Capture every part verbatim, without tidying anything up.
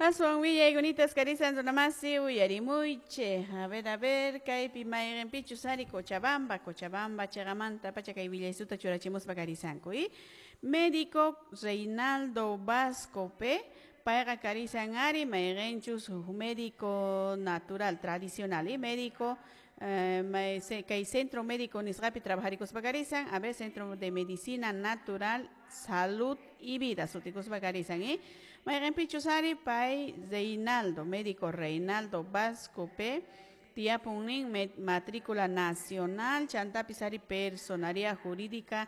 Aswan willaykunita karisan runamasi uyarimuychik. A ver, a ver, kaypi mayqinpichus ari Cochabamba, Cochabamba chiqamanta pacha kay willaysuta churachimuspa karisanku, y médico Reinaldo Vasco P. Payqa karisan ari mayqinchus huk médico natural tradicional y médico eh, kay centro médico nisqapi trabajarikuspa karisan, a ver, Centro de Medicina Natural, Salud y Vida sutikuspa karisan, y mayqinpichus ari pay Reinaldo, médico Reinaldo Vasco P. Tiapun nin matrícula nacional, chantapis ari personalidad jurídica,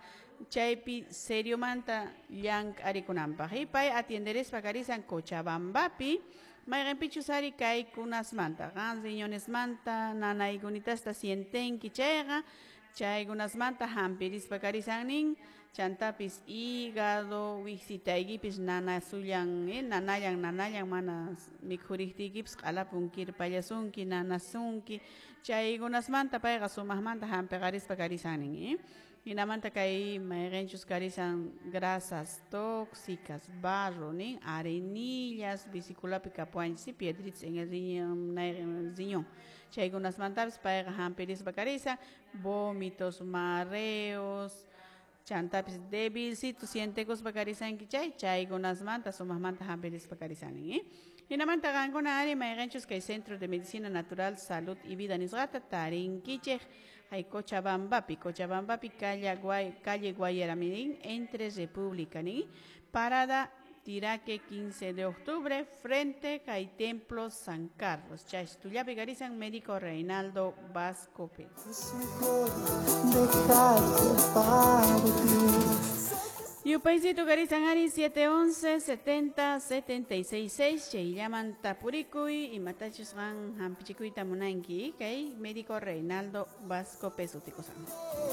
chaypi seriomanta llank'arikunanpaq. Y pay atienderespa karisan Cochabambapi, mayqinpichus ari kaykunasmanta, qan riñonesmanta nanaykunitasta sientenki chayqa, chaykunasmanta hampirispa karisan nin, chantapis hígado, wiksitaykipis nanasullan, eh, nanallan nanallan mana mikhuriqtiykipis q'alapun kirpallasunki nanasunki, chaykunasmanta payqa sumaqmanta hampiqarispa karisan nin, eh. Hinamanta kay mayqinchus karisan grasas tóxicas, barro nin, arenillas, vesiculapi kapuwanchis, piedritas en el riñón, riñón. Chaykunasmantapis payqa hampirispa karisan, vómitos, mareos, chantapis débilcito sientekuspa karisanki chay, chaykunasmanta sumaqmanta hampirispa karisan nin, eh. Hinamanta qankuna ari mayqinchus kay Centro de Medicina Natural, Salud y Vida nisqata tarinkichik hay Cochabambapi, Cochabambapi calle, Guay, calle Guayaramerín, entre República, nin, parada Tiraque quince de octubre, frente al Templo San Carlos. Chastullapi karisan médico Reinaldo Vasco Pérez. Yupaysito karisan ari siete once setenta setenta y seis seis, chayllaman tapurikuy imatachus qan hampichikuyta munanki, kay médico Reinaldo Vasco Pérez sutikusan.